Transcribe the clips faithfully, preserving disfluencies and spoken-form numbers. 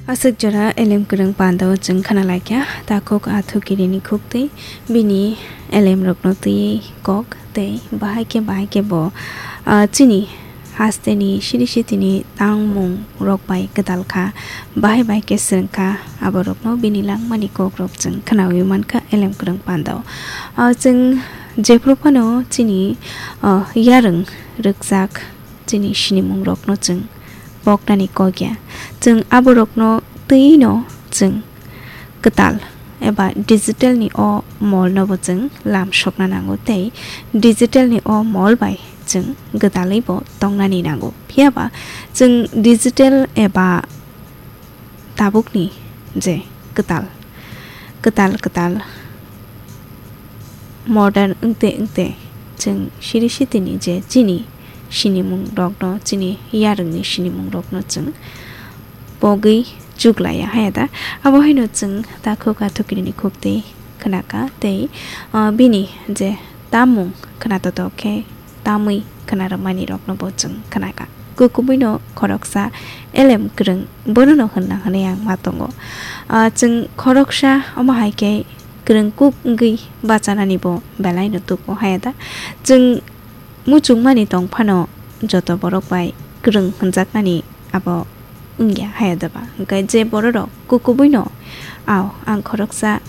Aswk jora elem kwrwng pandao chwng khna laikha, takhuk athukiri ni khuk tei bini elem rokno twiwi kok tei bahai khe bahai khe bo, ah, chini haste ni siri siti ni tangmung rok bai kwtal kha, bahai bahai khe swrwng kha, abo rokno bini langmani kok rok chwng khnawi mankha elem kwrwng pandao. Ah, chwng jephru phano chini, ah, yarwng rwkjak chini sinimung rokno chwng poknani kok ya. Chwng abo rokno twi no chwng kwtal eba digital ni o mol no bo chwng lam sokna nango tei digital ni o mol bai chwng gwdalwi bo tongnani nango. Phiya ba chwng digital eba tabukni je kwtal, kwtal, kwtal modern wngte wngte chwng siri sitini je chini sinimung rokno, chini yarwngni sinimung rokno chwng pogwi chuklaiya haya da. Abo haino chwng takhuk athukiri ni khuk tei khnaka tei, ah, bini je tamung khna totok khe tamwi khna rwmani rokno bo chwng khnaka. Kukubuino khoroksa elem kwrwng bonono hwnna hwnwi ang ma tongo. Ah, chwng khoroksa omo hai khe kwrwng kuk wngwi bachanani bo belai no tubu haya da. Chwng muchungmani tong phano joto borok bai kwrwng hwnjaknani abo wngya haya da ba. Hwnkhe je bororok kukubuino, "Ao, ang khoroksa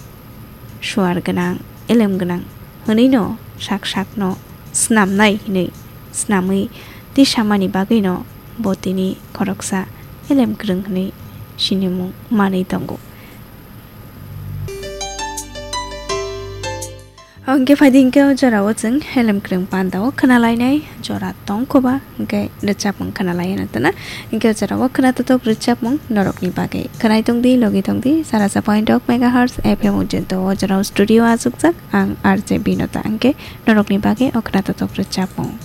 suar gwnang, elem gwnang," hwnwi no sak sak no snamnai hinwi snamwi tisamani bagwi no bo tini khoroksa elem kwrwng hinwi sinimung manwi tongo. Hwnkhe phaidi hwnkhe o jorao chwng elem kwrwng pandao khna lainai jora tong kho ba, hwnkhe rwchapmung khna laina tana. Hwnkhe o jorao khna totok rwchapmung norokni bagwi khwnai tongdi, logi tongdi, sara sa point ok megahertz F M ujento o jorao studio achukjak ang R J Binota, hwnkhe norokni bagwi o khna totok rwchapmung.